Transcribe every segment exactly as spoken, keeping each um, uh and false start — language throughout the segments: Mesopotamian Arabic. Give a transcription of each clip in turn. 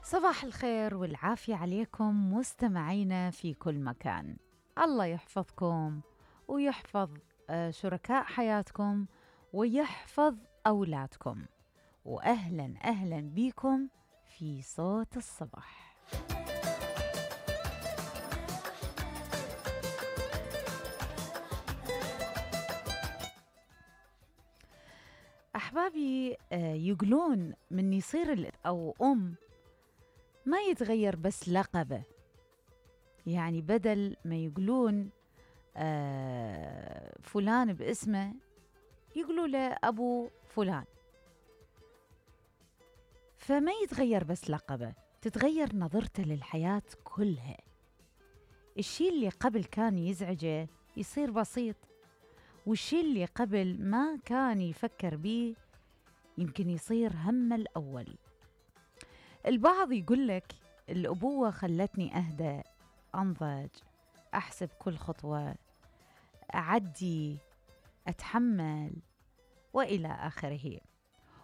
صباح الخير والعافية عليكم مستمعينا في كل مكان. الله يحفظكم ويحفظ شركاء حياتكم ويحفظ أولادكم، وأهلا أهلا بكم في صوت الصباح. أحبابي، يقولون من يصير أو أم ما يتغير بس لقبه، يعني بدل ما يقولون آه فلان باسمه يقولوا له أبو فلان، فما يتغير بس لقبه، تتغير نظرته للحياة كلها. الشيء اللي قبل كان يزعجه يصير بسيط، والشيء اللي قبل ما كان يفكر بيه يمكن يصير همه الأول. البعض يقول لك الأبوة خلتني أهدى، أنضج، أحسب كل خطوة، أعدي، أتحمل، وإلى آخره.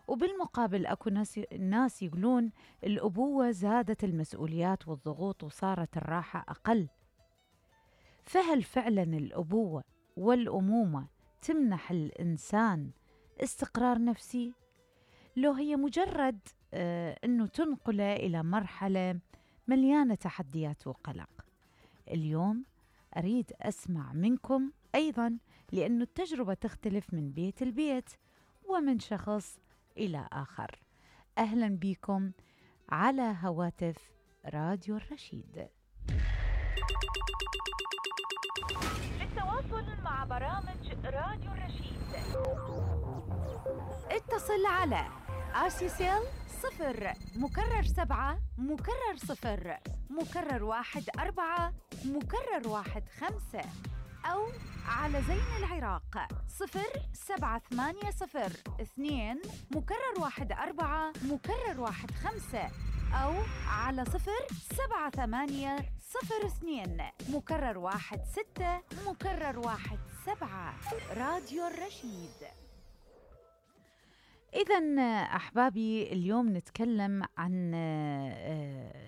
وبالمقابل أكو ناس, ناس يقولون الأبوة زادت المسؤوليات والضغوط وصارت الراحة أقل. فهل فعلا الأبوة والأمومة تمنح الإنسان استقرار نفسي؟ لو هي مجرد آه أنه تنقله إلى مرحلة مليانة تحديات وقلق؟ اليوم أريد أسمع منكم أيضا، لأن التجربة تختلف من بيت البيت ومن شخص إلى آخر. أهلا بكم على هواتف راديو الرشيد. للتواصل مع برامج راديو الرشيد اتصل على آسيسيل صفر مكرر سبعة مكرر صفر مكرر واحد أربعة مكرر واحد خمسة، أو على زين العراق صفر سبعة ثمانية صفر اثنين مكرر واحد أربعة مكرر واحد خمسة، أو على صفر سبعة ثمانية صفر اثنين مكرر واحد ستة مكرر واحد سبعة. راديو الرشيد. إذن أحبابي، اليوم نتكلم عن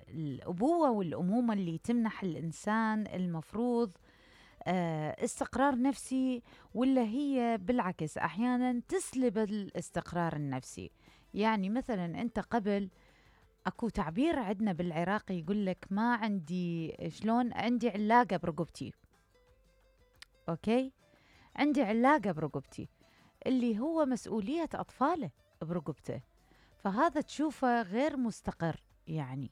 الأبوة والأمومة اللي تمنح الإنسان المفروض استقرار نفسي، ولا هي بالعكس أحيانا تسلب الاستقرار النفسي. يعني مثلا أنت قبل، أكو تعبير عندنا بالعراقي يقول لك ما عندي، شلون عندي علاقة برقبتي، أوكي، عندي علاقة برقبتي، اللي هو مسؤولية أطفاله برقبته، فهذا تشوفه غير مستقر يعني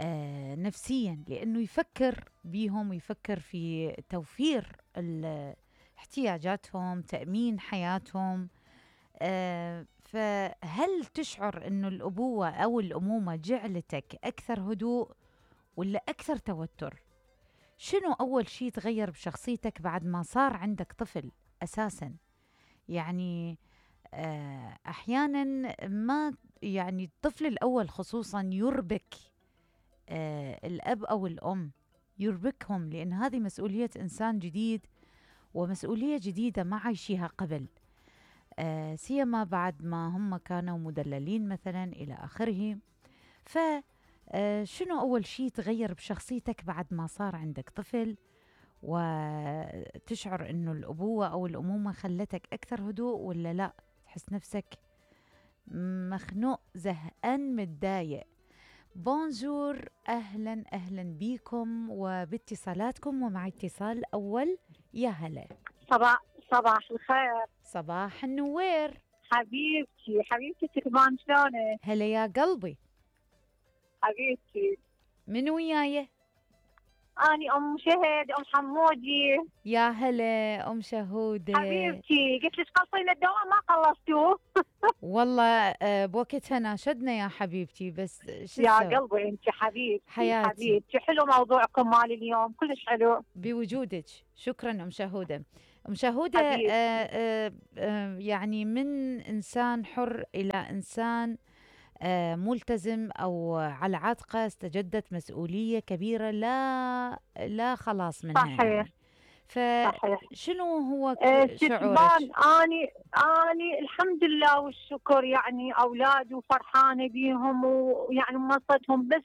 آه نفسيا، لأنه يفكر بيهم ويفكر في توفير احتياجاتهم، تأمين حياتهم. آه فهل تشعر أنه الأبوة أو الأمومة جعلتك أكثر هدوء ولا أكثر توتر؟ شنو أول شيء تغير بشخصيتك بعد ما صار عندك طفل أساساً؟ يعني أحياناً ما يعني الطفل الأول خصوصاً يربك الأب أو الأم، يربكهم، لأن هذه مسؤولية إنسان جديد ومسؤولية جديدة ما عايشيها قبل، سيما بعد ما هم كانوا مدللين مثلاً إلى آخره. فشنو أول شيء تغير بشخصيتك بعد ما صار عندك طفل وتشعر أنه الأبوة أو الأمومة خلتك أكثر هدوء، ولا لا تحس نفسك مخنوق، زهقان، متضايق؟ بونجور، أهلا أهلا بكم وباتصالاتكم، ومع اتصال أول. يا هلا. صباح صباح الخير. صباح النوير حبيبتي حبيبتي تكمان، شلونك؟ هلا يا قلبي حبيبتي. من وياي؟ أني أم شهد، أم حمودي. يا هلا أم شهودة حبيبتي، قلت لك خلصينا الدواء ما خلصتوه. والله بوقتها ناشدنا يا حبيبتي، بس شو يا قلبي انت حبيبتي حياتي. حبيبتي حلو موضوعكم مال اليوم، كلش حلو بوجودك. شكرا أم شهودة. أم شهودة آآ آآ آآ يعني من إنسان حر إلى إنسان آه ملتزم أو على عاتقه استجدت مسؤولية كبيرة لا لا خلاص منها. صحيح. يعني صحيح. فشنو هو آه، ك- شعورك؟ ستبان اني اني الحمد لله والشكر، يعني اولادي وفرحانه بيهم ويعني مصتهم، بس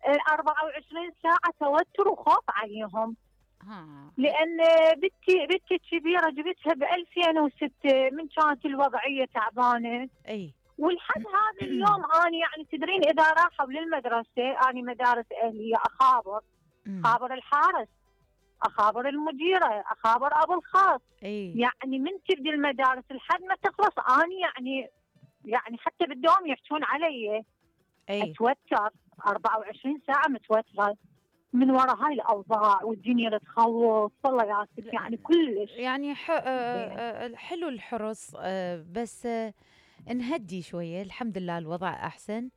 آه، أربعة وعشرين ساعه توتر وخوف عليهم. ها لان بنتي بنتي الكبيره جبتها ب ألفين وستة، من كانت الوضعيه تعبانه، اي ولحد هذا اليوم اني يعني تدرين اذا راحوا للمدرسه، اني مدارس اهليه اخابر، أمم. اخابر الحارس، اخابر المديره، اخابر ابو الخاص، اي يعني من تبدي المدارس لحد ما تخلص اني يعني يعني حتى بالدوام يحكون علي اي اتوتر، أربعة وعشرين ساعه متوتره من وراء هاي الاوضاع، والدنيا اللي تخوف والله يا ست، يعني كلش. يعني ح... آه، آه، حلو الحرص، آه، بس آه، نهدي شوية. الحمد لله الوضع أحسن،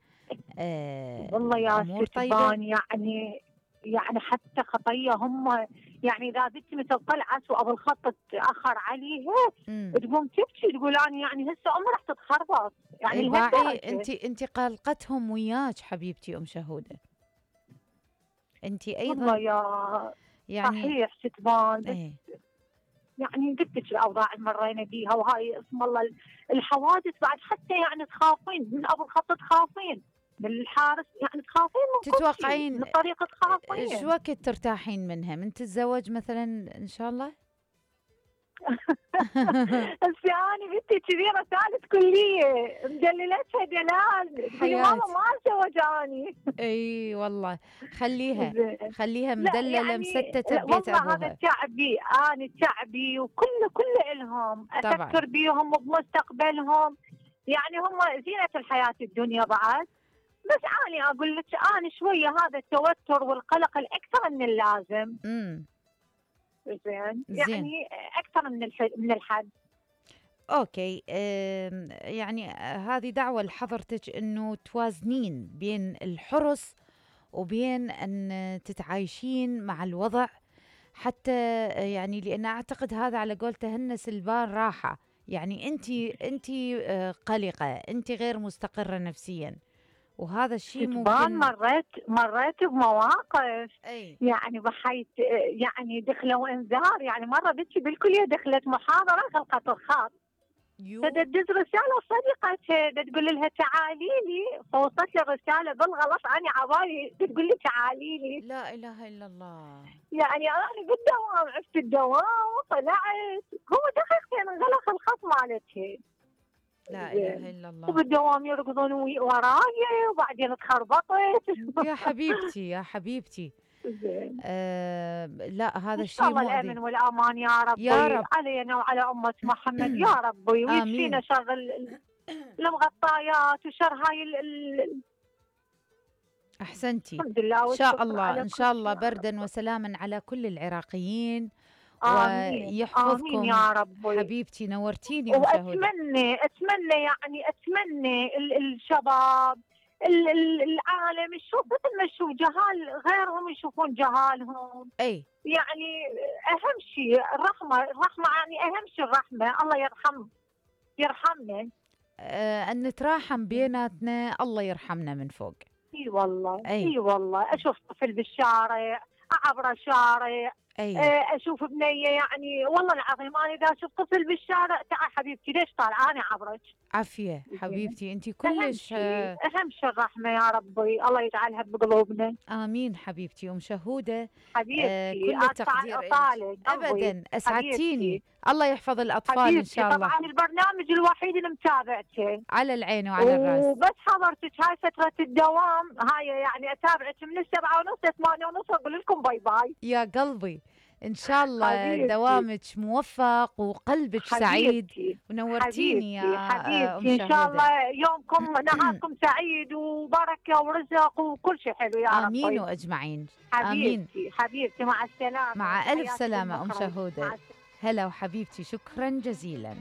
آه، والله يا الأمور طيبة. ستبان يعني يعني حتى خطيه هم، يعني اذا بنتي مثل طلعت وابو الخط تاخر عليها امم تقوم تبكي، تقول انا يعني هسه امي راح تتخربط، يعني باعي لهالدرجه. انت انت قلقتهم وياك حبيبتي ام شهودة، انت والله ايضا يا يعني. صحيح ستبان، بس ايه يعني قلت لك الاوضاع اللي مرينا بيها، وهاي اسم الله الحوادث بعد، حتى يعني تخافين من ابو الخط، تخافين من الحارس، يعني تخافين من كل شيء، من تتوقعين الطريق شو تخافين. وقت ترتاحين منها من تتزوج مثلا ان شاء الله؟ هسه انا بنتي كبيره ثالث كليه، مدللتها دلال، تقولي ماما حياتي، ما اتزوج اني. اي والله، خليها زين. خليها لا مدللة يعني مستتة لا ببيت والله هذا ابوها. تعبي، انا تعبي وكل كل الهم طبعا افكر بيهم وبمستقبلهم، يعني هم زينه الحياه الدنيا بعد. بس انا اقول لك انا شويه هذا التوتر والقلق الاكثر من اللازم. امم زين زين يعني اكثر من الح- من الحد. اوكي. أم، يعني آه، هذه دعوة لحضرتك انه توازنين بين الحرص وبين ان تتعايشين مع الوضع، حتى آه، يعني لان اعتقد هذا على قولته هن سلبان راحة. يعني انت انت آه، قلقة، انت غير مستقرة نفسيا، وهذا الشيء كتبان ممكن. مريت مريت بمواقف، اي يعني بحيث يعني دخلوا انذار، يعني مره بنتي بالكليه دخلت محاضره غلقت الخط، يو فتدز رساله صديقتها تقول لها تعالي لي، فوصلت لي الرساله بالغلط، انا عبالي تقول لي تعالي لي، لا اله الا الله. يعني انا بالدوام عشت الدوام وطلعت، هو دقيقتين انغلق الخط مالتها. لا زين. اله الا الله. وبالدوام يركضون وي- وراي، وبعدين تخربطت. يا حبيبتي يا حبيبتي. زين. آه لا هذا ان شاء الشيء الله الامن مؤذي. والامان يا يا ربي رب. علينا وعلى امه محمد يا ربي، ويكفينا آمين. شر ال- ال- المغطيات وشر هاي ال- ال- أحسنتي. الحمد لله إن شاء والشكر الله على إن كل شاء شيء الله يا بردا رب. وسلاما على كل العراقيين، امين امين ويحفظكم. يا ربي. حبيبتي نورتيني أم شهودة. واتمنى اتمنى يعني اتمنى ال- الشباب، ال- ال- العالم يشوف مثل ما يشوف جهال غيرهم يشوفون جهالهم، أي يعني اهم شيء الرحمه، الرحمه يعني اهم شيء الرحمه، الله يرحم يرحمنا. آه أن نتراحم بيناتنا، الله يرحمنا من فوق. اي والله أي اي والله، اشوف طفل بالشارع، اعبر الشارع، أي آه، اشوف بنيه، يعني والله العظيم انا اذا اشوف طفل بالشارع تعال حبيبتي ليش طالعه انا عبرك. عافية حبيبتي، أنت اهم كلش شيء آه اهم شيء الرحمه يا ربي، الله يجعلها بقلوبنا. آمين حبيبتي أم شهودة. آه حبيبتي كل التقدير أطال- إلك. اطالك قلبي. أبدا أسعدتيني. حبيبتي الله يحفظ الأطفال إن حبيبتي شاء الله. طبعا البرنامج الوحيد اللي متابعته، على العين وعلى الراس. وبس حضرتك هاي فترة الدوام هاي، يعني اتابعك من السبعة ونص لثمانية ونص واقول لكم باي باي. يا قلبي إن شاء الله حبيبتي دوامك موفق وقلبك سعيد، حبيبتي ونورتيني يا حبيبتي آه، أم حبيبتي، ان شاء شهودة. الله يومكم نهاركم سعيد وبركة ورزق وكل شيء حلو يا آمين ربي. وأجمعين. آمين. حبيبتي حبيبتي مع السلامة، مع ألف تحياتكم سلامة أم بكرة. مع شهودة. السلامة. هلا وحبيبتي، شكرا جزيلا.